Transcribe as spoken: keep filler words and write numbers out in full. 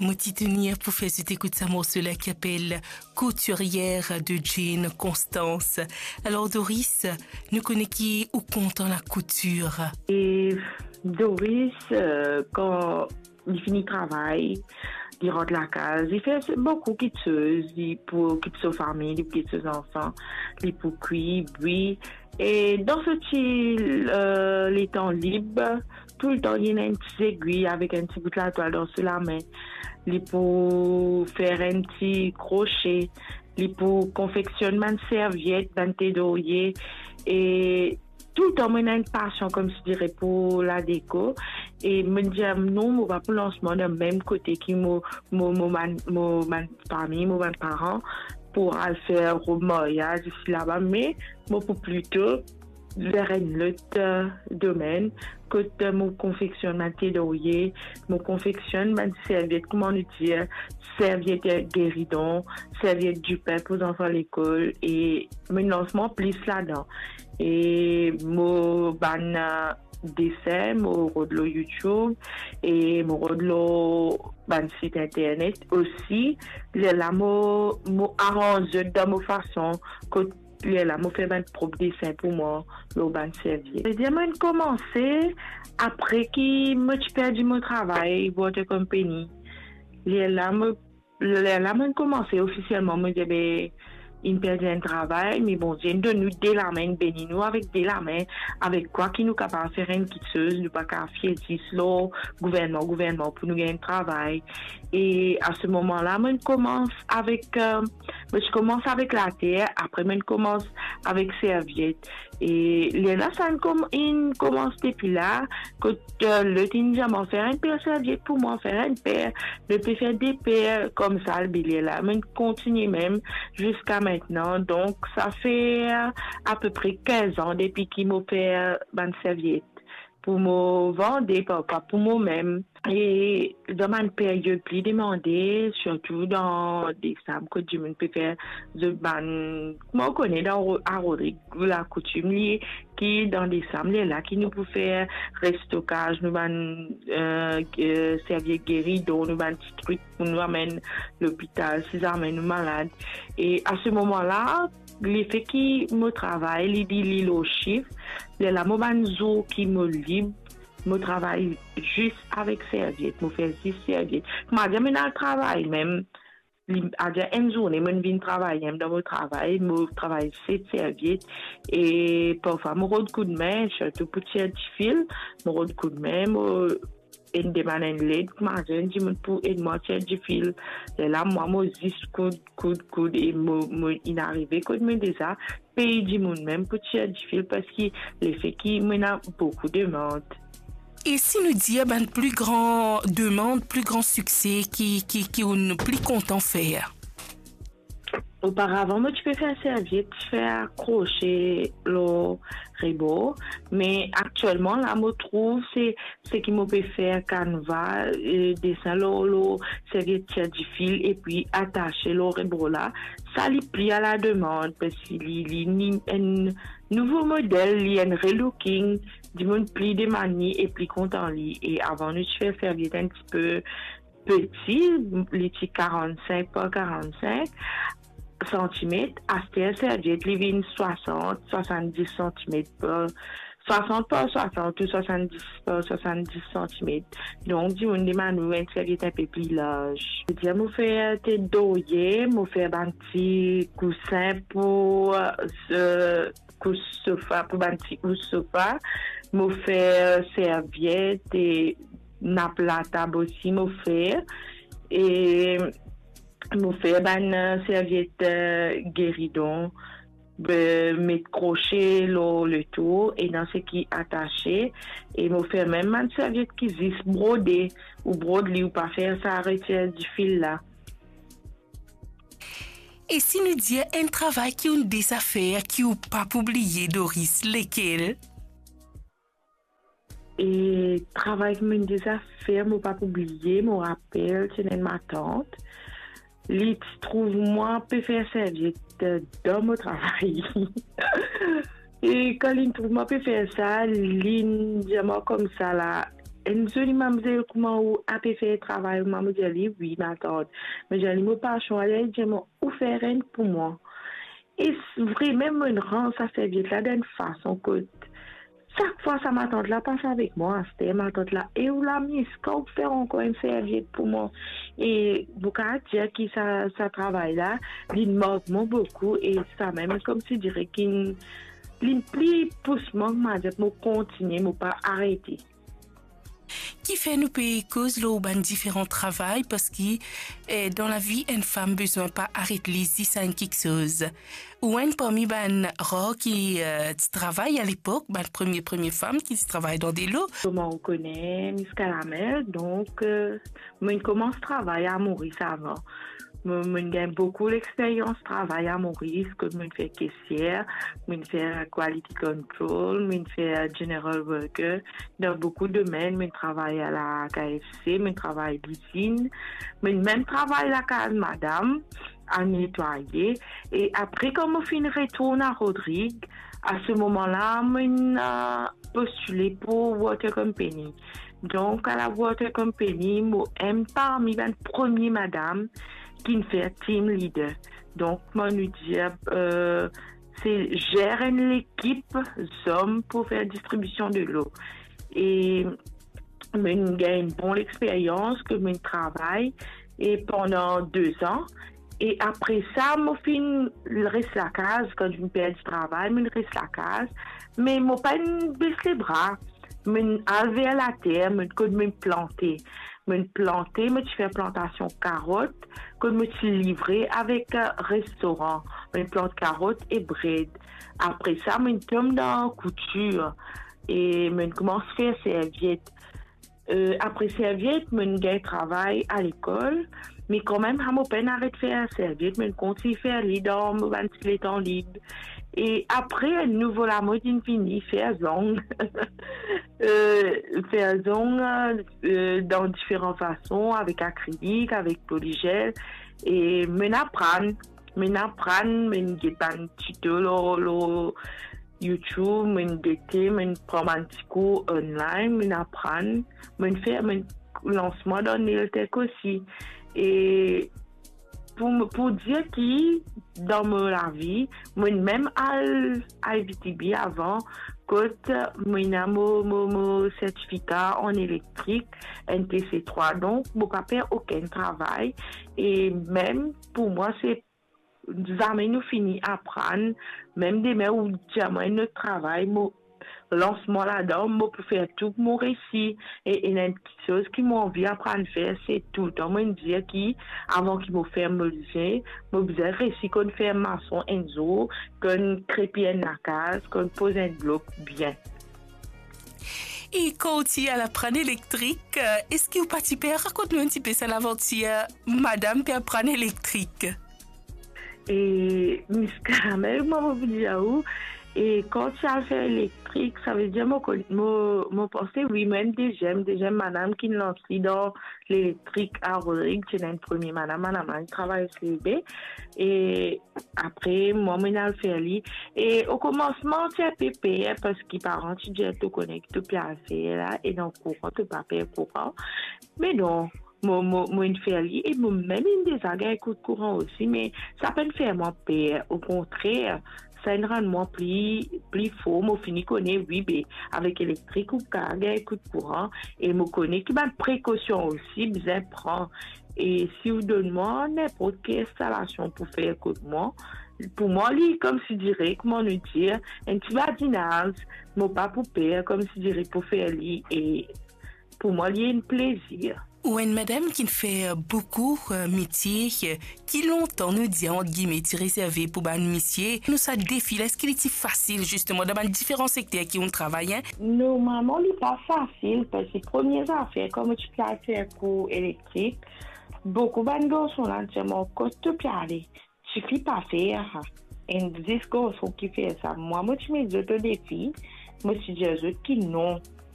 Mo ti tenir pou fer zot ekout sa morso la ki apel Couturière de Jane Constance. Alor Doris, nou kone ki ou kontan lakoutir. E Doris, euh, kan li fini travay, li rant lakaz, li fer boukou kitsoz, li pou okip so fami, li pou okip so zanfan, li pou kwi, bwi. E dan so ti, euh, letan lib, toultan li ena enn ti zegwi avek enn ti bout latwal dan so lame. Li pou fer enn ti krose, li pou konfeksionn bann serviet, bann te dorye. E toultan mo ena enn pasion, koumsi dire, pou ladeko. E mo dir, non, mo pa pou lans mwa dan mem kote ki mo, mo, mo bann, mo bann fami, mo bann paran, pou al fer rob maryaz isi laba, me mo pou plito ver enn lot, euh, domenn, kot, euh, mo konfeksionn bann te dorye, mo konfeksionn bann serviet, kouma nou dir, serviet, euh, geridon, serviet dipin pou zanfan lekol, e mo lans mwa plis ladan. E mo bann, euh, desin, mo rod lor YouTube, e mo rod lor bann sit internet osi. Lerla mo, mo aranz zot dan mo fason, kot lerla mo fer bann prop desin pou mwa lor bann serviet. Savedir mo'nn koumanse apre ki mo ti perdi mo travay water company. Lerla mo, lerla mo'nn koumanse ofisielman, mo dir, be, inn perdi enn travay, me Bondie inn donn nou de lame, inn beni nou avek de lame, avek kwa ki nou kapav fer enn kitsoz, nou pa kapav fie zis lor gouvernman, gouvernman pou nou gagn travay. E a se moman la, mo'nn koumans avek, euh, mo ti koumans avek later, apre mo'nn koumans avek serviet. E lerla sa inn koum-, inn koumans depi la, kot, euh, lot inn dir mwa, fer enn per serviet pou mwa, fer enn per, lot pe fer de per, koumsa, be lerla mo'nn kontigne mem ziska aster. Donk, sa fer apepre kinz an depi ki mo fer bann serviet pou mo vande, parfwa pou momem. E dan bann period pli demande, sirtou dan desam, kot dimoun pe fer zot bann, kouma ou kone, dan Ro-, a Rodrig, lakoutim li, ki dan desam, lerla ki nou pou fer restokaz nou bann, euh, euh, serviet geridon, nou bann ti trik pou nou amenn lopital, si zame nou malad. E a se moman la, lefe ki mo travay, li, li, li lor sif, lerla mo bann zour ki mo lib, mo travay zis avek serviet, mo fer zis serviet. Kouma dir, mo'nn al travay mem, li, adir enn zourne, mo'nn vinn travay mem dan mo travay, mo travay set serviet, e parfwa mo rod koudme, sirtou pou tir difil, mo rod koudme, mo inn demann enn led, kouma dir, enn dimoun pou ed mwa tir difil. Lerla mwa mo zis koud, koud, koud, e mo, mo inn arive kot mo deza pey dimoun mem pou tir difil, parski lefe ki mo ena boukou demand. E si nou dir bann pli gran demand, pli gran sikse ki, ki, ki ou'nn pli kontan fer? Oparavan, mo ti pe fer serviet, ti fer krose lor rebor, me aktielman la, mo trouv se, seki mo pe fer kanva, e, desin lor, lor serviet tir difil, epi atase lor rebor la, sa li pli a la demand, parski li, li inn enn nouvo model, li enn relooking, dimoun pli demann li e pli kontan li. E avan nou ti fer serviet enn tipe peti, li ti karannsink par karannsink santimet. Aster serviet li vinn swasant, swasanndis santimet par, swasant par swasant ou swasanndis par swasanndis santimet. Donk, dimoun demann ou enn serviet inpe pli larz. Savedir mo fer tet dorye, mo fer bann ti kousin pou, euh, kous sofa, pou bann ti kous sofa. Mo fer serviet e nap latab osi mo fer. E mo fer bann, euh, serviet, euh, geridon, be, met krose lor letour, ena seki atase, e mo fer mem bann serviet ki zis brode, ou brod li, ou pa fer sa retir difil la. E si nou dir enn travay ki ou'nn deza fer ki ou pa pou bliye, Doris, lekel? E travay ki mo'nn deza fer, mo pa pou bliye, mo rapel, ti ena enn matant, li ti trouv mwa pe fer serviet dan mo travay. E kan li'nn trouv mwa pe fer sa, li'nn dir mwa koumsa la, Enn zoli mamzel, kouma ou ape fer travay, mo dir li, wi, matant. Me dir li, mo pasion, ale, li dir mwa, ou fer enn pou mwa. E s-, vremem, mo'nn rans sa serviet la dan enn fason kot sak fwa sa matant la pas avek mwa, aster matant la, e ou la, Miska, ou fer ankor enn serviet pou mwa. E mo kapav dir ki sa, sa travay la, li mark mwa boukou, e samem, koumsi dire ki li pli pous mwa, mo dir mo kontigne, mo pa arete. Kifer nou pe koz lor bann diferan travay, parski, eh, dan lavi, enn fam bizin pa aret li zis a enn kiksoz. Ou enn parmi bann rar ki, eh, ti travay alepok, bann premie, premie fam ki ti travay dan delo. Kouma ou kone, Miska Lamel, donk, eh, mo'nn koumans travay a Moris avan. Mo, mo'nn gagn boukou lexperyans travay a Moris, kot mo'nn fer kesier, mo'nn fer quality control, mo'nn fer general worker. Dan boukou domenn, mo'nn travay a la K F C, mo'nn travay lizinn, mo'nn mem travay lakaz madam, a netwaye. E apre, kan mo finn retourn a Rodrig, a se moman la, mo'nn, eh, postile pou water company. Donk, a la water company, mo enn parmi bann premie madam ki'nn fer team leader. Donk, mo, nou dir, eh, se zer enn lekip zom pou fer distribision delo. E mo'nn gagn bon lexperyans, ke mo'nn travay, e pandan de zan. E apre sa, mo finn res lakaz, kan mo'nn perdi travay, mo'nn res lakaz. Me mo pa'nn bes lebra. Mo'nn al ver later, mo'nn, kot mo'nn plante. Mo'nn plante, mo ti fer plantasion karot, kot mo ti livre avek, eh, restoran. Mo'nn plant karot e bred. Apre sa, mo'nn tom dan koutir. E mo'nn koumans fer serviet. Eh, apre serviet, mo'nn gagn travay a lekol, me kanmem, sa mo pa'nn aret fer serviet, mo'nn kontign fer li dan mo bann ti letan lib. E apre, enn nouvo lamod inn vini, fer zong. Eh, fer zong, eh, dan diferan fason, avek akrilik, avek poligel. E mo'nn aprann, mo'nn aprann, mo'nn get bann tito lor, lor YouTube, mo'nn gete, mo'nn pran bann ti kour online, mo'nn aprann, mo'nn fer, mo'nn lans mwa dan nail tech osi. E pou, pou dir ki dan mo lavi, mo'nn mem al I V T B avan, kot mo'nn ena mo, mo, mo sertifika an elektrik, N T C trwa, donk mo pa per okenn travay, e mem pou mwa, se zame nou fini aprann, mem demin ou dir mwa enn lot travay, mo lans mwa ladan, mo pou fer tou pou mo resi. E, e ena enn kiksoz ki mo anvi aprann fer, se toultan mo'nn dir ki avan ki mo ferm mo lizin, mo bizin resi konn fer mason enn zour, konn krepi enn lakaz, konn poz enn blok bien. E kan ou ti al aprann elektrik, eh, eski ou pa ti per? Rakont nou enn tipe sa lavantir, eh, madam pe aprann elektrik. E Miss Caramel, mo pou dir ou, e kan ti al fer elektrik, savedir mo konn, mo, mo panse, wi, mo enn deziem, deziem madam ki'nn lans li dan lelektrik a Rodrig, ti ena enn premie madam, madam la, li travay S L B. E apre, mwa, mo'nn al fer li. E okomansman, ti enpe per, parski paran ti dir to kone ki to pe al fer la, e dan kouran, to pa per kouran. Me non, mo, mo, mo'nn fer li, e mo mem inn deza gagn kout kouran osi, me sa pa'nn fer mwa per. Okontrer, sa inn rann mwa pli, pli for. Mo fini kone, wi, be, avek elektrik, ou kapav gagn kout kouran, e mo kone ki bann prekosion osi bizin pran. E si ou donn mwa ninport ki instalasion pou fer kot mwa, pou mwa, li, koumsi dire, kouma nou dir, enn ti badinaz, mo pa pou per, koumsi dire, pou fer li, e pou mwa, li enn plezir. Ou enn madam ki'nn fer boukou, eh, metie, eh, ki lontan, nou dir, ant gime, ti rezerve pou bann misie. Nou sa defi la, eski li ti fasil, zisteman, dan bann diferan sekter ki ou'nn travay, en? Normalman, li pa fasil, parski premie zafer, kan mo ti pe al fer kour elektrik, boukou bann garson la dir mwa, kot to pe ale? Tifi pa fer sa. Enn zis garson ki fer sa. Mwa, mo ti met zot o defi, mo ti dir zot ki non.